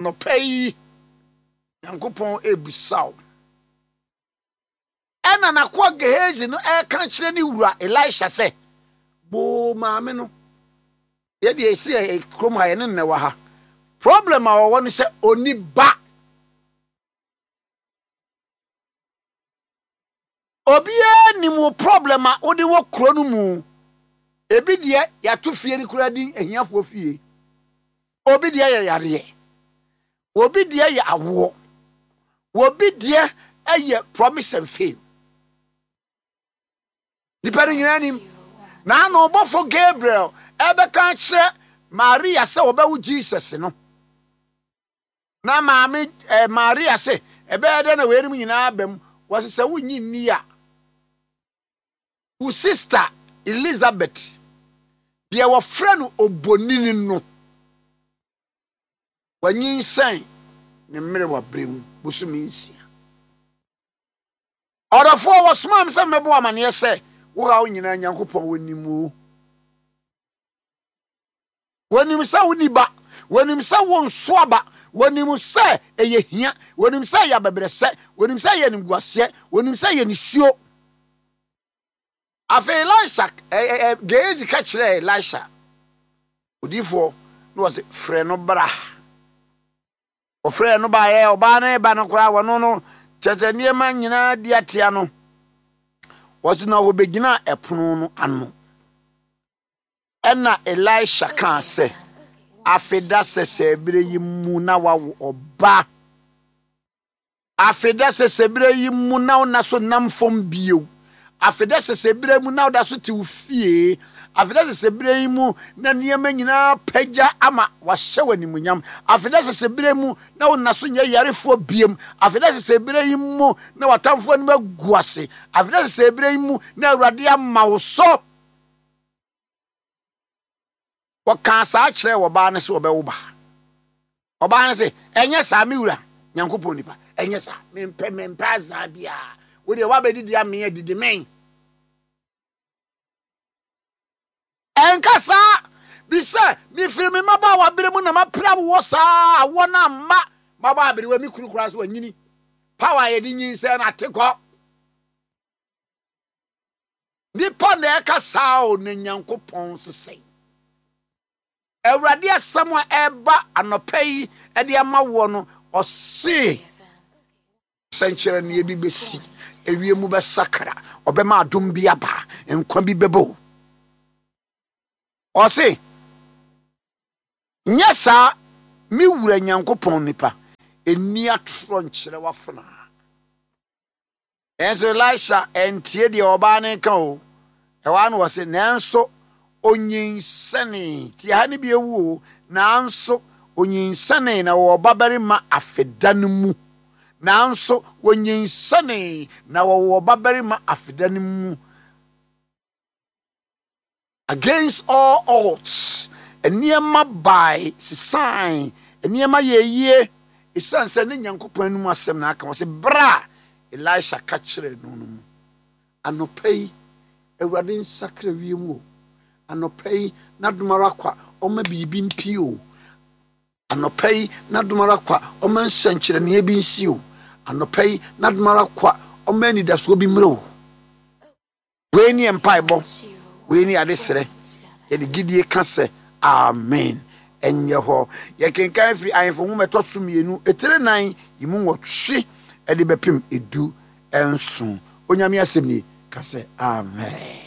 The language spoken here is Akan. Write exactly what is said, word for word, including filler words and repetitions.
Anɔpa yi, Nyankopɔn ebisa wo. Ɛna n'akoa Gehazi no ɛreka kyerɛ ne wura Elisha sɛ, boo maame no. Yɛde esi ɛ kurom ha, yɛne nnɛ wɔ ha. Problem a ɔwɔ no sɛ ɔni ba. Obiara nim wo problem a wode wɔ kuro no mu. Ebi deɛ, yɛato fie no koraa din ahiafoɔ fie. Obi deɛ yɛ yareɛ. Obi deɛ yɛ awoɔ. Obi deɛ ɛyɛ promise and fail. Nipa no nyinaa nim. Na ano ɔbɔfo Gabriel ɛbɛka kyerɛ Maria sɛ wɔbɛwo Jesus no. Na maame eh, Maria sɛ ɛbɛyɛ dɛ na weinom nyinaa ba mu. Wɔsɛ sɛ wonyi nni a, wo sister Elizabeth deɛ wɔfrɛ no obonini no, wanyinsɛn ne mmerɛ berɛ mu bosome nsia. Ɔdɔfoɔ, wɔsomaa me sɛ mmɛbɔ amanneɛ sɛ wo haw nyinaa Nyankopɔn wɔnim o. Wɔnim sɛ woni ba, wɔnim sɛ wo nso aba, wɔnim sɛ ɛyɛ hia, wɔnim sɛ ɛyɛ abɛbrɛsɛ, wɔnim sɛ ɛyɛ animguaseɛ, wɔnim sɛ ɛyɛ nisuo. Afei Elisha ɛ ɛ Gehazi ka kyerɛɛ Elisha odiifoɔ na wɔsɛ frɛ no bra. Ɔfrɛ no baeɛ, ɔbaa no ba no koraa, wɔno no kyerɛ sɛ nneɛma nyinaa di atea no. Wɔsi na wɔbɛgyina ɛpono no ano. Ɛna Elisha kaa sɛ, afeda sɛsɛ berɛ yi mu na wawo ɔba. Afeda sɛsɛ berɛ yi mu na wona so nam fam bio. Afeda sɛsɛ berɛ mu na woda so te wo fie. Afeda sɛsɛ berɛ yi mu na nneɛma nyinaa pagya ama wahyɛ wɔ animuonyam. Afeda sɛsɛ berɛ mu na wona so nyɛ yarefoɔ biem. Afeda sɛsɛ berɛ yi mu na w'atamfoɔ anim agu ase. Afeda sɛsɛ berɛ yi mu na Awurade ama wo so. Wɔkaa saa kyerɛ ɔbaa no sɛ ɔbɛwo ba. Ɔbaa no sɛ, ɛnyɛ saa, me wura Nyankopɔn nipa, ɛnyɛ saa, mempɛ mempɛ azaa biara. Wo deɛ woabɛdidi amee adidi men. Ɛnka saa bi sɛ mefiri me mmabaawa bere mu na mapra wowɔ saa awoɔ no amma mabɔ aberewa, me kunu koraa so wanyini. Power a yɛde nyinsɛn no ate kɔ. Nipa na ɛka saa o, na Nyankopɔn sesɛe. Awurade asɛm a ɛba anɔpa yi ɛde ama woɔ no, ɔse sɛnkyerɛnneɛ bi bɛsi, ewie mu bɛsakra, ɔbɛma adom bi aba, nkwa bi bɛbɔ o. Ɔse nyɛ saa, me wura Nyankopɔn nipa, ɛni atorɔ nkyerɛ w'afenaa. Ɛnso Elisha ɛntie deɛ ɔbaa no ka o. Ɛwɔ ano wɔ se nanso onyinsɛnee. Tie ha ne bi ewu o. Nanso onyinsɛnee na wɔwɔ babarima afeda no mu. Nanso onyinsɛnee na wɔwɔ babarima afeda no mu. Against all odds, nneɛma bae sesan, nneɛma yɛ yie esiane sɛ ne Nyankopɔn anim asɛm na aka. Wɔ sɛ bere a Elisha ka kyerɛɛ no no mu. Anɔpa yi, Awurade nsakra wiem o. Anɔpa yi, n'adom ara kwa ɔma biribi mpie o. Anɔpa yi, n'adom ara kwa ɔma nsɛnkyerɛnneɛ bi nsi o. Anɔpa yi, n'adom ara kwa ɔma anidasoɔ bi mmerɛ o. Wei ne mpaebɔ, wei ne adesrɛ. Yɛde gyidie ka sɛ amen. Ɛnyɛ hɔ. Yɛkenkan firi Ahemfo Nwoma ɛtɔ so mmienu, etire nan yi mu nwɔtwe ɛde bɛpem edu nson. Onyame asɛm nie, ka sɛ amen.